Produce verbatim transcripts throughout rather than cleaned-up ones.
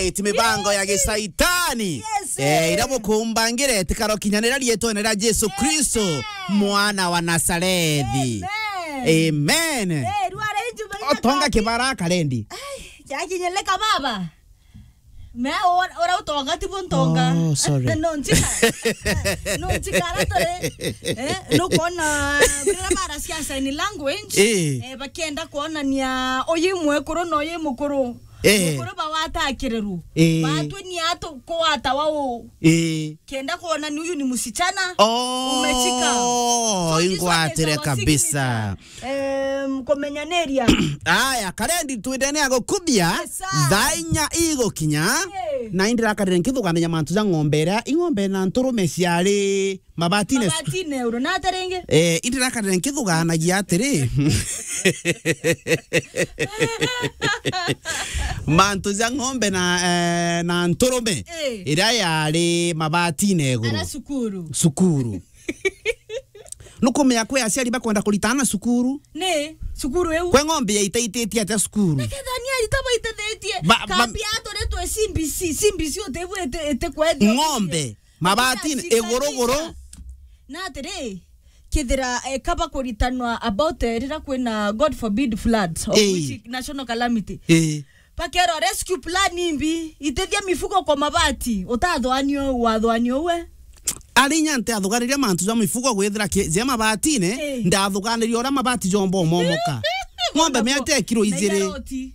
Iti mibango ya gisaitani. Yes, eh, ira bukumbangire, tikaro kinyanira rietwene ria Jesu Kristo, mwana wa Nazarethi. Amen. Amen. Eh, rware inju. Otonga kibara karendi. Ai, jakinyeleka baba. Me ora, ora utonga ti buntonga. Oh, sorry. No nchika. No nchika ara tore. Eh, no kuona bila bara cia sign language. Eh. Eh, bakienda kuonania uyu mwekuru na uyu mukuru. Eh. Mukuru bawatakirerwo. Eh. Batwe ni atu kuwata wao. Eh. Kenda kuona ni uyu ni msichana. Oh, umechika. So this one is ingwatire our kabisa. Signature. Em, kumenyaniria. Aya, karendi twindene ya gukubia. Yes, sir. Thaa inya igukinya. Eh. Na indirakarire nkithuganagia mantu ja ng'ombe iria, ing'ombe na nturume ciari mabatine. Mabatine uru, na ata ringi? Eh, indirakarire nkithuganagia atiri. Mantu ja ng'ombe na, eh, na nturume. Eh. Iria yari mabatine iguru. Ara cukuru. Cukuru. Nukumenya kwi aciari bakwenda kuritana cukuru. Ni, cukuru iu. Kwe ng'ombe yaitaititie atia cukuru? Nikethania arita baitethetie. Ba-, ba- Kambi aturetwe C B C, C B C utebu ete, ete kwethia. Ng'ombe. Mabatine, iguru guru. Na atiri, kithira, eh, kaba kuritanwa about, eh, rira kwina, God forbid, floods or, eh, which national calamity. Eh. Bakero rescue plan imbi, itethia mifugo kwa mabati, utathwanio, wathwanio we. Ari inya ntiathuganiria mantu ja mifugo gwithira ki-, je mabatine, eh, ndathuganiria uria mabati jomba umomoka. Ng'ombe miate kiro ijiri. Na ijaroti.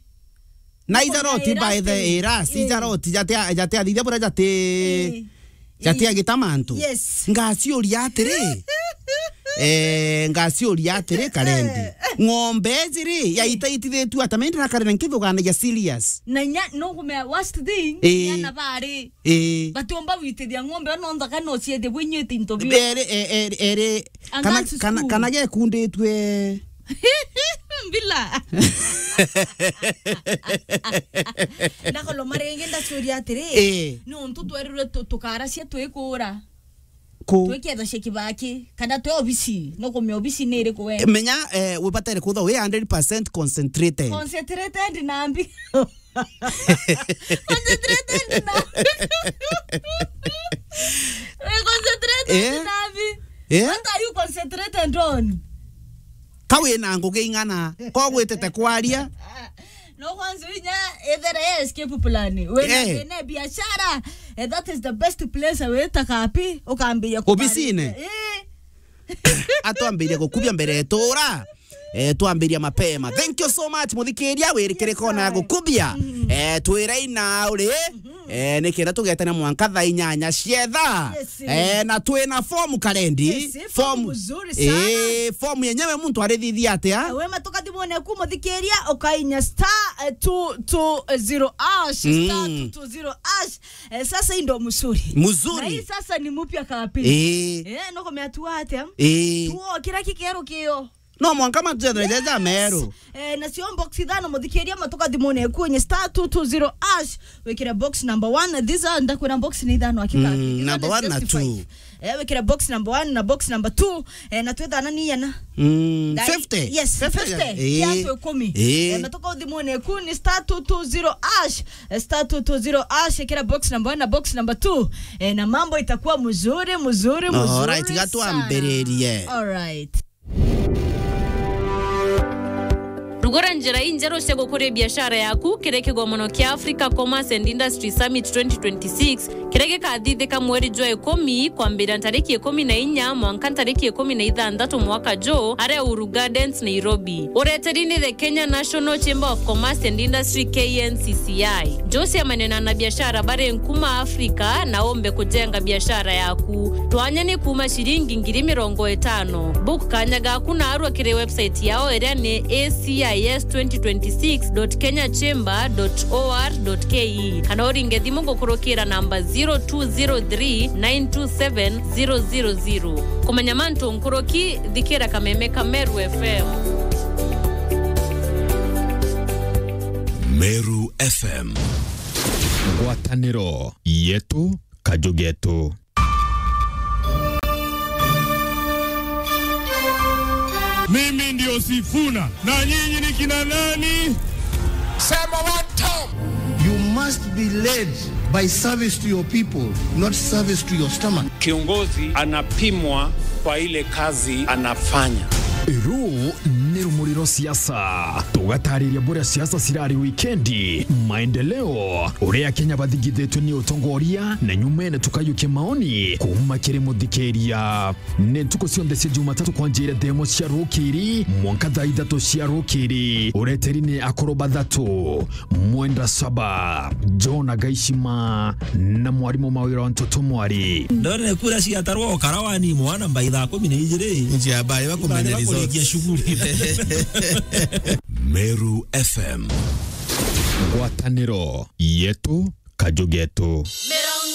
Na ijaroti by the way, ira, eh, ijaroti, jatia, jatia thithia buria jati, eh, jatia gita mantu. Yes. Ngaciuria atiri. Eh, ngaciuria atiri, karendi. Eh. Ng'ombe ijiri, eh, yaitaitithitue ata, me ndirakarira nkithuganagia serious. Na inya, no kumea worst thing, eh, inya na bari. Eh. Batiomba gwitithia ng'ombe, no nthaka no ciethie bwinyite into bio. Eri, e-, eri, eri, kana, kana, kana gekunditue. Mbila. Ndakoloma ringi ndacuria atiri, eh, nontu twerirwe tu-, tukaracia twikura. Ku? Twiketha cia kibaki, kana twi obisi, no kumia obisi ni iriku we? Menya, eh, wibatere kutha wi hundred percent concentrated. Concentrated na mbi. Concentrated na. Eh, concentrated, eh, na mbi. Eh? What are you concentrated on? Ka wina ngugi ing'ana, ko gwitete kwaria. No kwanza inya ethere ya escape plan. Wina, eh, thina biashara, eh, that is the best place wita kapi, ukambiria obisine. Eh. Atwambiria gukubia mbere etura. Eh, twambiria mapema. Thank you so much, muthikiria, wirikire kona ya gukubia. Mm. Eh, twira ina uri. Eh, nikenda tugetana mwanka thaa inyanya cietha. Yes. Eh, na twina form karendi. Yes, form mzuri sana. Eh, form yenyewe muntu arithithia atia? Eh, we matuka thimone ku muthikiria, ukainya star, eh, two two zero hash, star, mm, two two zero hash. Eh, sasa hii ndo mzuri. Mzuri. Na hii sasa ni mpya kabisa. Eh. Eh, no kumeatua atia? Eh. Tuo kira kikero kio. No mwanka matujethere jaja meru. Eh, nacio box ithano muthikiria matuka thimune ku nye star two two zero hash. Wikire box number one. These are, ndakwira box ni ithano hakika. Mm, number one na two. Eh, wikire box number one na box number two. Eh, na twethana ni yana. Mm, fifty. Yes, fifty. Eh. Kiasi ikumi. Eh. Eh, matuka thimune ku ni star two two zero hash. Eh, star two two zero hash, wikire box number one na box number two. Eh, na mambo itakuwa mzuri, mzuri, mzuri. Alright, gatwambiririe. Alright. Rugura njira injeru cia gukuria biashara yaku kiri kigomono kia Africa Commerce and Industry Summit twenty twenty-six, kiria gikathithika mweri jwa ikumi, kwambiria ntariki ikumi na inya mwanka ntariki ikumi na ithanthatu mwaka ju, aria Uhuru Gardens, Nairobi. Ureteri ni the Kenya National Chamber of Commerce and Industry, K N C C I. Njuciemania na anabiashara bari nkuma Africa na umbe kujenga biashara yaku. Twanya ni kuma ciringi ngiri mirongo itano. Book kanya gaku narua kiri website yao iria ni A C I S twenty twenty-six dot kenya chamber dot O R dot K E, kana uringe thimu gukurukira namba zero two zero three nine two seven zero zero zero. Kumenya mantu nkuruki, thikira kameme ka Meru F M. Meru F M. Ngwataniro yetu, kaju getu. Mimi ndio Sifuna. Na nyinyi ni kina nani? Sema one time. You must be led by service to your people, not service to your stomach. Kiongozi anapimwa kwa ile kazi anafanya. Ruu ni rumuri rwa siasa. Tugatariria buria siasa cirari wikendi, maendeleo, uria Akenya bathingithitwe ni utongoria, na nyumene tukayukia maoni kuuma kiri muthikiria. Ni ntuku cionthe cia Jumatatu kwanjira thaa imwe cia rukiri mwanka thaa ithatu cia rukiri. Ureteri ni akuru bathatu, Mwenda Saba, John Agaishima, na mwarimu Mawira wa Ntoto Mwari. Ndone kura ciatarwa ukara wani mwana mbai thaa kumi na ijiri. Njia bari bakumenya results. Bakurikia shughuli. Meru F M. Ngwataniro yetu, kaju getu.